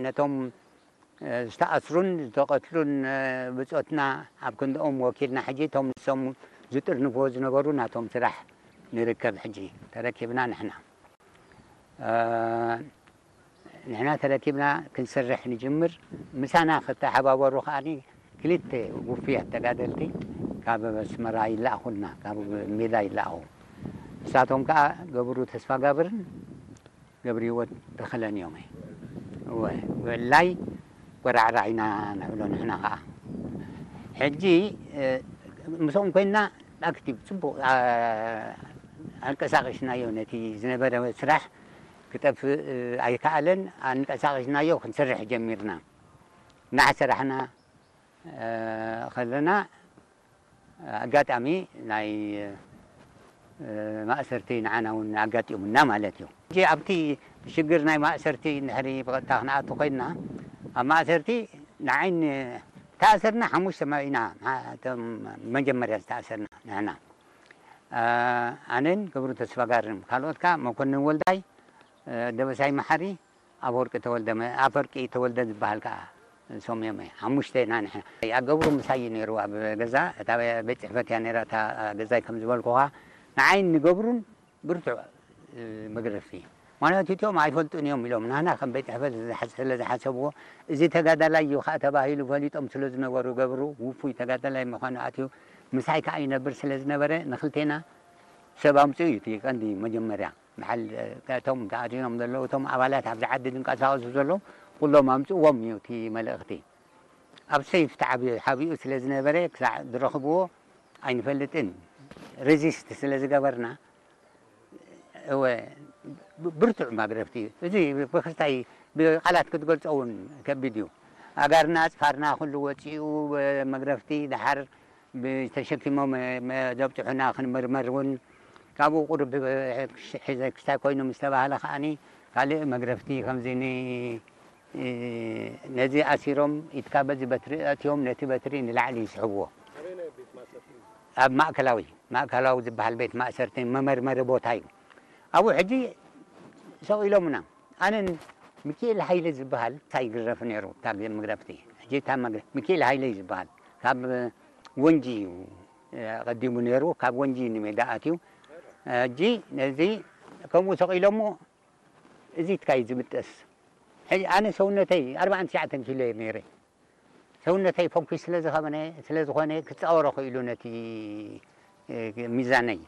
ነቶም ዝተኣስሩን ዝተቐትሉን ብጾትና ኣብ ክንድኦም ወኪልና ሕጂ እቶም ንሶም ዝጥርንፍዎ ዝነበሩ ናቶም ስራሕ ንርከብ። ሕጂ ተረኪብና ንሕና ንሕና ተረኪብና ክንሰርሕ ንጅምር። ምሳና ክተሓባበሩ ከኣ ክልተ ውፉያት ተጋደልቲ ካብ ኣስመራ ይለኣኹልና፣ ካብ ሜዳ ይለኣኹ። ንሳቶም ከኣ ገብሩ ተስፋጋብርን ገብርሂወት ተኸለን እዮም። እወ፣ ብዕላይ ቆራዕራዕ ኢና ንብሎ ንሕና ኸዓ። ሕጂ ምስኦም ኮይንና ኣክቲቭ ጽቡቕ ኣንቀሳቒስናዮ። ነቲ ዝነበረ ስራሕ ክጠፍእ ኣይከኣለን። ኣንቀሳቒስናዮ፣ ክንሰርሕ ጀሚርና። እናሰራሕና ከለና ኣጋጣሚ ናይ ማእሰርቲ ንዓና እውን ኣጋጢሙና ማለት እዩ። ሕጂ ኣብቲ ሽግር ናይ ማእሰርቲ እንድሕሪ ብቐጥታ ክንኣቱ ኮይንና፣ ኣብ ማእሰርቲ ንዓይ ን-፣ ተኣሰርና ሓሙሽተ መ-፣ ኢና፣ እቶም መጀመርያ ዝተኣሰርና ንሕና። ኣነን ገብሩ ተስፋጋርን፣ ካልኦት ከኣ መኮንን ወልዳይ፣ ደበሳይ መሓሪ፣ ኣፈወርቂ ተወልደ መ-፣ ኣፈወርቂ ተወልደ ዝበሃል ከኣ እሶም እዮም። ሓሙሽተ ኢና ንሕና። ኣገብሩ ምሳይ እዩ ነይሩ ኣብ ገዛ። እታ ቤት ጽሕፈት እያ ነይራ እታ ገዛይ ከም ዝበልኩኻ። ንዓይን ንገብሩን ብርቱዕ መግረፍቲ። ምኽንያቱ እቲኦም ኣይፈልጡን እዮም ኢሎም ናህና ከም ቤት ጽሕፈት ዝሓ-፣ ስለ ዝሓሰብዎ፣ እዚ ተጋዳላይ እዩ ከኣ ተባሂሉ ፈሊጦም ስለ ዝነበሩ፣ ገብሩ ውፉይ ተጋዳላይ ምዃኑ ኣትዩ ምሳይ ከኣ ይነብር ስለ ዝነበረ፣ ንኽልቴና ሰብ ኣምጽኡ እዩ እቲ ቀንዲ መጀመርያ። በዓል እቶም ተኣሲሮም ዘለዉ፣ እቶም ኣባላት ኣብዚ ዓዲ ዝንቀሳቐሱ ዘለዉ፣ ኩሎም ኣምጽእዎም እዩ እቲ መልእኽቲ። ኣብ ሰይፍ ተዓብዩ፣ ሓቢኡ ስለ ዝነበረ፣ ክሳዕ ዝረኽብዎ ኣይንፈልጥን። ሬዚስት ስለ ዝገበርና፣ እወ፣ ብ-፣ ብርቱዕ መግረፍቲ እዩ። እዚ ብክስታይ ብቃላት ክትገልጾ እውን ከቢድ እዩ። ኣጋርና፣ ኣጽፋርና ኩሉ ወጺኡ፣ መግረፍቲ፣ ደሓር ብተሸኪሞም መ-፣ ዘብጽሑና ክንምርመር እውን ካብኡ ቁሩብ ሒዘ ክስታይ ኮይኑ ምስ ተባህለ ከኣኒ ካልእ መግረፍቲ ከምዚ ን-፣ ነዚ ኣሲሮም ኢድካ በዚ በትሪ ኣእትዮም ነቲ በትሪ ንላዕሊ ይስሕብዎ። ኣበየናይ ቤት ማእሰርቲ? ኣብ ማእከላዊ፣ ማእከላዊ ዝበሃል ቤት ማእሰርቲ መመርመሪ ቦታ እዩ። ኣብኡ ሕጂ ሰቕ ኢሎምና። ኣነን ሚኪኤል ሃይለ ዝበሃል እንታይ ይግረፍ ነይሩ፣ እታ መግረፍቲ። ሕጂ እታ መግረ-፣ ሚኪኤል ሃይለ እዩ ዝበሃል። ካብ ወንጂ እዩ፣ እ፣ ቀዲሙ ነይሩ። ካብ ወንጂ ንሜዳ ኣትዩ። ሕጂ ነዚ ከምኡ ሰቒሎሞ፣ እዚ ትካይ ዝምጠስ። ሕጂ ኣነ ሰውነተይ ኣርባዓን ትሽዓተን ኪሎ እየ ነይረ። ሰውነተይ ፈንኩሽ ስለ ዝኸበነ፣ ስለ ዝኾነ ክጻወሮ ክኢሉ ነቲ፣ እ፣ ሚዛነይ።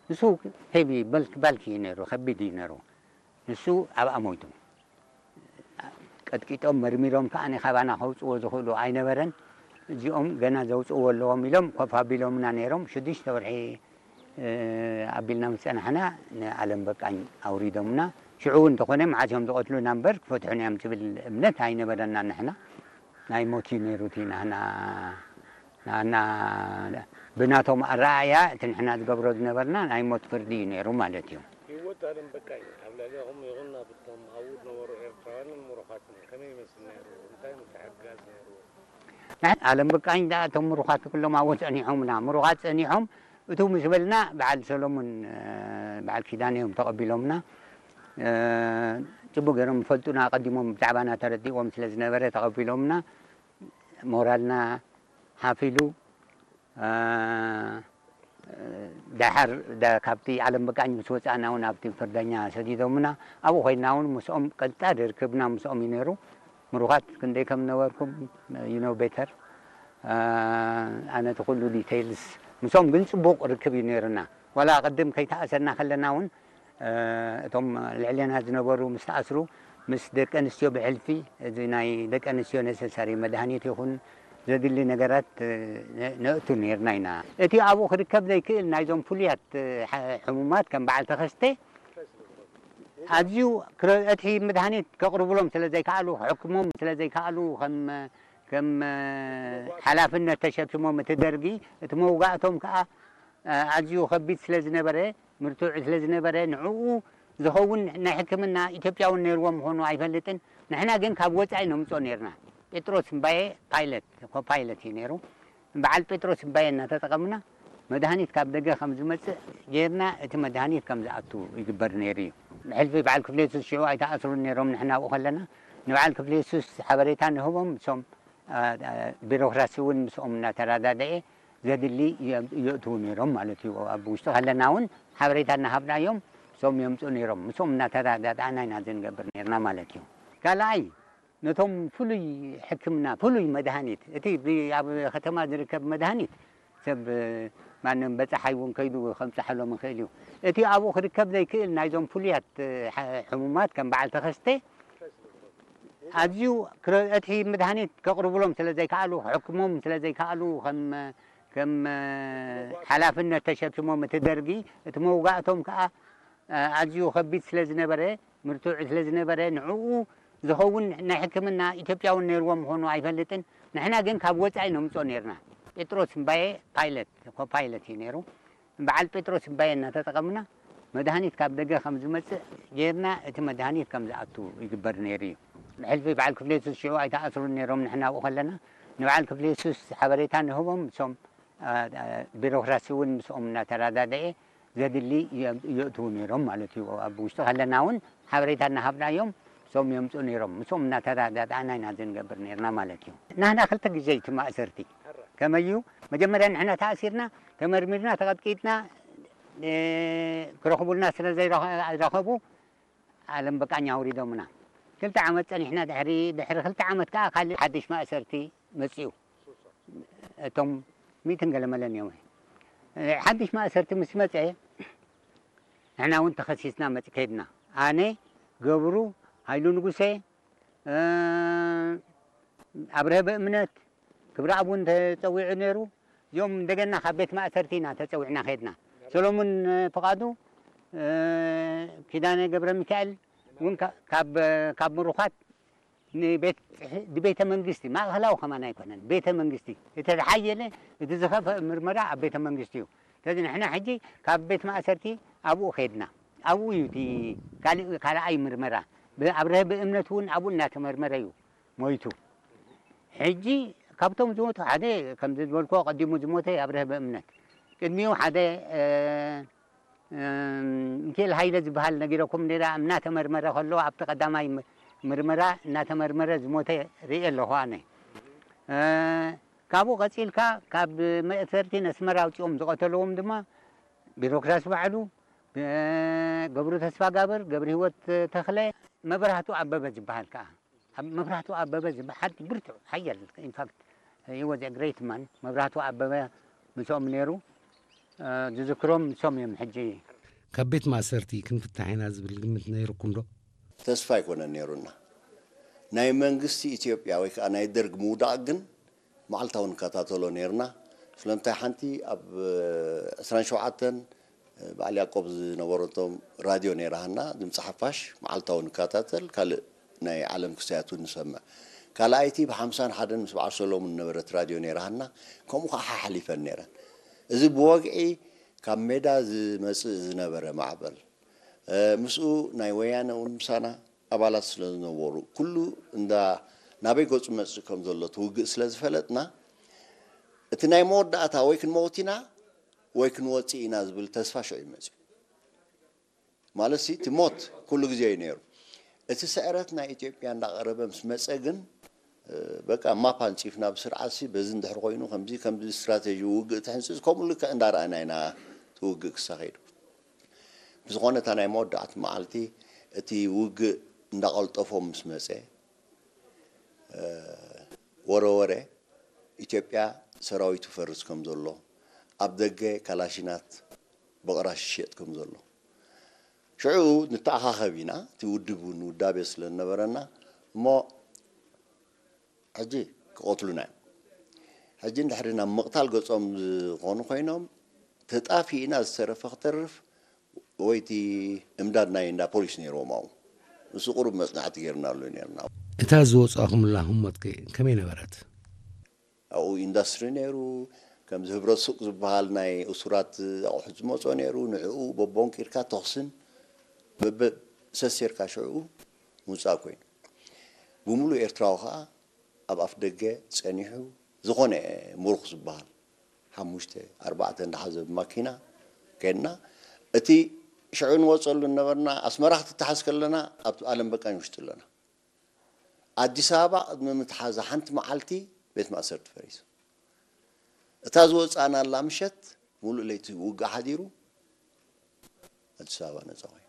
ንሱ ሄቪ፣ በልክ-፣ ባልኪ እዩ ነይሩ፣ ከቢድ እዩ ነይሩ። ንሱ ኣብኣ ሞይቱ። ቀጥቂጦም መርሚሮም ከኣ ካባና ከውጽዎ ዝኽእሉ ኣይነበረን። እዚኦም ገና ዘውጽእዎ ኣለዎም ኢሎም ኮፍ ኣቢሎምና ነይሮም። ሽዱሽተ ወርሒ፣ እ፣ ኣቢልና ምስ ጸናሕና ንዓለም በቃኝ ኣውሪዶምና። ሽዑ እውን እንተኾነ መዓስ እዮም ዝቐትሉና እምበር ክፈትሑና እዮም ዝብል እምነት ኣይነበረና ንሕና። ናይ ሞት እዩ ነይሩ እቲ ናህና ናና ብናቶም ኣረኣእያ እቲ ንሕና ዝገብሮ ዝነበርና ናይ ሞት ፍርዲ እዩ ነይሩ ማለት እዩ። ህይወት ኣለም በቃኝ ኣብ ልዕሌኹም ይኹን ኣብ እቶም ኣብኡ ዝነበሩ ኤርትራውያንን ምሩኻትን ከመይ ይመስል ነይሩ? እንታይ ምትሕግጋዝ ነይሩ? ንሕና ኣለም በቃኝ ደኣ እቶም ምሩኻት ኩሎም ኣብኡ ጸኒሖምና። ምሩኻት ጸኒሖም እቱ ምስ በልና በዓል ሰሎሙን፣ እ፣ በዓል ኪዳነ እዮም ተቐቢሎምና። እ፣ ጽቡቕ ገይሮም ይፈልጡና፣ ኣቐዲሞም ብዛዕባና ተረዲእዎም ስለ ዝነበረ ተቐቢሎምና። ሞራልና ሓፍ ኢሉ፣ እ፣ ደሓር ደ-፣ ካብቲ ዓለም በቃኝ ምስ ወጻእና እውን ኣብቲ ፍርደኛ ሰዲዶምና። ኣብኡ ኮይንና እውን ምስኦም ቀጥታ ርክብና ምስኦም እዩ ነይሩ። ምሩኻት ክንደይ ከም ነበርኩም you know better። እ፣ ኣነ እቲ ኩሉ ዲቴይልስ ምስኦም ግን ጽቡቕ ርክብ እዩ ነይሩና። ዋላ ቅድም ከይተኣሰርና ከለና እውን እ፣ እቶም ልዕሌና ዝነበሩ ምስ ተኣስሩ፣ ምስ ደቂ ኣንስትዮ ብሕልፊ፣ እዚ ናይ ደቂ ኣንስትዮ ነሰሳሪ መድሃኒት ይኹን ዘድሊ ነገራት፣ እ፣ ነ-፣ ነእቱ ነይርና ኢና። እቲ ኣብኡ ክርከብ ዘይክእል ናይዞም ፍሉያት፣ እ፣ ሐ-፣ ሕሙማት ከም በዓል ተኸስተ ኣዝዩ ክረ-፣ እቲ መድሃኒት ከቕርብሎም ስለ ዘይከኣሉ፣ ክሕክሞም ስለ ዘይከኣሉ፣ ከም፣ ከም፣ እ፣ ሓላፍነት ተሸኪሞም እቲ ደርጊ፣ እቲ መውጋእቶም ከኣ፣ እ፣ ኣዝዩ ከቢድ ስለ ዝነበረ፣ ምርቱዕ ስለ ዝነበረ ንዕኡ ዝኸውን ናይ ሕክምና ኢትዮጵያውን ነይርዎ ምዃኑ ኣይፈልጥን። ንሕና ግን ካብ ወጻኢ ነምጽኦ ነይርና። ጴጥሮስ እምባየ ፓይለት፣ ኮፓይለት እዩ ነይሩ። በዓል ጴጥሮስ እምባየ እናተጠቐምና መድሃኒት ካብ ደገ ከም ዝመጽእ ጌርና እቲ መድሃኒት ከም ዝኣቱ ይግበር ነይሩ እዩ። ብሕልፊ በዓል ክፍሌቱስ ሽዑ ኣይተኣስሩን ነይሮም ንሕና ኣብኡ ከለና። ንበዓል ክፍለ የሱስ ሓበሬታ ንህቦም፣ እሶም ቢሮክራሲ እውን ምስኦም እናተረዳደኤ ዘድሊ የእትዉ ነይሮም ማለት እዩ። ኣብ ውሽጢ ከለና እውን ሓበሬታ እናሃብናዮም እሶም የምፁ ነይሮም። ምስኦም እናተረዳዳእና ኢና ዝንገብር ነርና ማለት እዩ። ካልኣይ፣ ነቶም ፍሉይ ሕክምና፣ ፍሉይ መድሃኒት፣ እቲ ኣብ ከተማ ዝርከብ መድሃኒት ሰብ ማንም በፃሓይ እውን ከይዱ ከምፅሓሎም ይኽእል እዩ። እቲ ኣብኡ ክርከብ ዘይክእል ናይዞም ፍሉያት ሕሙማት ከም በዓል ተኸስተ ኣዝዩ እቲ መድሃኒት ከቕርብሎም ስለ ዘይከኣሉ፣ ክሕክሞም ስለ ዘይከኣሉ፣ ከም ከም ሓላፍነት ተሸኪሞም እቲ ደርጊ፣ እቲ መውጋእቶም ከዓ ኣዝዩ ከቢድ ስለ ዝነበረ፣ ምርቱዕ ስለ ዝነበረ፣ ንዕኡ ዝኸውን ናይ ሕክምና ኢትዮጵያውን ነይርዎ ምዃኑ ኣይፈልጥን። ንሕና ግን ካብ ወፃኢ ነምፅኦ ነርና። ጴጥሮስ እምባየ ፓይለት፣ ኮፓይለት እዩ ነይሩ። በዓል ጴጥሮስ እምባየ እናተጠቐምና መድሃኒት ካብ ደገ ከም ዝመፅእ ጌርና እቲ መድሃኒት ከም ዝኣቱ ይግበር ነይሩ እዩ። ብሕልፊ በዓል ክፍለ የሱስ ሽዑ ኣይተኣስሩን ነይሮም ንሕና ኣብኡ ከለና። ንበዓል ክፍለ የሱስ ሓበሬታ ንህቦም እሶም ቢሮክራሲ እውን ምስኦም እናተረዳደኤ ዘድሊ የእትዉ ነይሮም ማለት እዩ። ኣብ ውሽጢ ከለና እውን ሓበሬታ እናሃብናዮም እሶም የምፁ ነይሮም። ምስኦም እናተረዳዳእና ኢና ዝንገብር ነርና ማለት እዩ። ናህና ክልተ ግዜ እቲ ማእሰርቲ ከመይ እዩ? መጀመርያ ንሕና ተኣሲርና፣ ተመርሚርና፣ ተቐጥቂጥና፣ ክረኽቡልና ስለ ዘይረኸቡ ዓለም በቃኝ ኣውሪዶምና። ክልተ ዓመት ጸኒሕና፣ ድሕሪ ድሕሪ ክልተ ዓመት ከኣ ካልእ ሓድሽ ማእሰርቲ መጺኡ። እቶም ሚእትን ገለመለን እዮም። ሓድሽ ማእሰርቲ ምስ መጸ፣ ንሕና እውን ተኸሲስና መጽ ከድና። ኣነ፣ ገብሩ፣ ሃይሉ ንጉሴ፣ ኣብርሀ ብእምነት፣ ክብረኣብ እውን ተጸዊዑ ነይሩ። እዚኦም እንደገና ካብ ቤት ማእሰርቲ ኢና ተጸዊዕና ከድና። ሰሎሙን ፍቓዱ፣ ኪዳነ ገብረ ሚካኤል እውን ካብ ምሩኻት ንቤተ መንግስቲ፣ ማእኸላዊ ከማን ኣይኮነን፣ ቤተ መንግስቲ፣ እቲ ዝሓየለ፣ እቲ ዝኸፍአ ምርመራ ኣብ ቤተ መንግስቲ እዩ። ስለዚ ንሕና ሕጂ ካብ ቤት ማእሰርቲ ኣብኡ ከድና፣ ኣብኡ እዩ እቲ ካልኣይ ምርመራ። ኣብርሀ ብእምነት እውን ኣብኡ እናተመርመረ እዩ ሞይቱ። ሕጂ ካብቶም ዝሞቱ ሓደ፣ ከምዚ ዝበልኩ፣ ቀዲሙ ዝሞተ ኣብርሀ ብእምነት፣ ቅድሚኡ ሓደ ሚኪኤል ሃይለ ዝበሃል ነጊረኩም ነይራ። እናተመርመረ ከሎ፣ ኣብቲ ቀዳማይ ምርመራ እናተመርመረ ዝሞተ ርእየ ኣለኹ ኣነ። ካብኡ ቀፂልካ ካብ መእሰርቲ ነስመራ ኣውፂኦም ዝቐተልዎም ድማ ቢሮክራሲ ባዕሉ፣ ገብሩ ተስፋጋብር፣ ገብረ ህይወት ተኽለ፣ መብራህቱ ኣበበ ዝበሃል ከዓ፣ መብራህቱ ኣበበ ዝበሃል ብርቱዕ ሓያል፣ ኢንፋክት፣ he was a great man። መብራህቱ ኣበበ ምስኦም ነይሩ። ዝዝክሮም ንሶም እዮም። ሕጂ ካብ ቤት ማእሰርቲ ክንፍታሕ ኢና ዝብል ግምት ነይርኩም ዶ? ተስፋ ኣይኮነን ነይሩና። ናይ መንግስቲ ኢትዮጵያ ወይ ከዓ ናይ ደርግ ምውዳቕ ግን መዓልታዊ ንከታተሎ ነይርና። ስለምንታይ ሓንቲ ኣብ ዕስራን ሸውዓተን በዓል ያዕቆብ ዝነበረቶም ራድዮ ነይራሃና፣ ድምፂ ሓፋሽ መዓልታዊ ንከታተል፣ ካልእ ናይ ዓለም ክስተያት እውን ንሰምዕ። ካልኣይቲ ብሓምሳን ሓደን ምስ በዓል ሰሎሙን ዝነበረት ራድዮ ነይራሃና፣ ከምኡ ከዓ ሓሓሊፈን ነይረን። እዚ ብወግዒ ካብ ሜዳ ዝመፅእ ዝነበረ ማዕበል፣ ምስኡ ናይ ወያነ እውን ምሳና ኣባላት ስለ ዝነበሩ፣ ኩሉ እንዳ ናበይ ገፁ መፅእ ከም ዘሎ እቲ ውግእ ስለ ዝፈለጥና፣ እቲ ናይ መወዳእታ ወይ ክንመውት ኢና ወይ ክንወፅእ ኢና ዝብል ተስፋ ሽዑ እዩ መፅዩ። ማለት ሲ እቲ ሞት ኩሉ ግዜ እዩ ነይሩ። እቲ ስዕረት ናይ ኢትዮጵያ እንዳቐረበ ምስ መፀ ግን በቃ ማፕ ኣንፂፍና ብስርዓት ሲ በዚ እንድሕር ኮይኑ ከምዚ ከምዚ ስትራቴጂ ውግእ ትሕንፅፅ ከምኡ ልክዕ እንዳረኣና ኢና እቲ ውግእ ክሳኸይዱ። ብዝኾነ እታ ናይ መወዳእቲ መዓልቲ እቲ ውግእ እንዳቐልጠፎ ምስ መፀ ወረ ወረ ኢትዮጵያ ሰራዊቱ ፈርስ ከም ዘሎ ኣብ ደገ ካላሽናት ብቕራሽ ይሸጥ ከም ዘሎ ሽዑ ንተኣኻኸብ ኢና። እቲ ውድብ እውን ውዳቤ ስለ ዝነበረና እሞ ሕጂ ክቐትሉና እዮም። ሕጂ እንድሕሪ ናብ ምቕታል ገጾም ዝኾኑ ኮይኖም ተጣፊእና ዝተረፈ ክተርፍ ወይ እቲ እምዳድ ናይ እንዳ ፖሊስ ነይርዎም ኣብኡ ንሱ ቁሩብ መጽናዕቲ ገይርናሉ ነርና። እታ ዝወጻኹምላ ህሞት ከ ከመይ ነበረት? ኣብኡ ኢንዳስትሪ ነይሩ። ከምዚ ህብረት ሱቅ ዝበሃል ናይ እሱራት ኣቑሑት ዝመጾ ነይሩ። ንዕኡ በቦንቂርካ ተኹስን በበ ሰሴርካ ሽዕኡ ምውጻእ ኮይኑ። ብምሉእ ኤርትራዊ ከኣ ኣብ ኣፍ ደገ ጸኒሑ ዝኾነ ምሩኽ ዝበሃል ሓሙሽተ ኣርባዕተ እንዳሓዘ ብማኪና ከድና። እቲ ሽዑ ንወጸሉ ነበርና ኣስመራ ክትተሓዝ ከለና ኣብ ኣለም በቃኝ ውሽጢ ኣለና። ኣዲስ ኣበባ ቅድሚ ምትሓዛ ሓንቲ መዓልቲ ቤት ማእሰርቲ ፈሪሱ። እታ ዝወፃእናላ ምሸት ሙሉእ ለይቲ ውግእ ሓዲሩ ኣዲስ ኣበባ ነፃ ኮይኑ።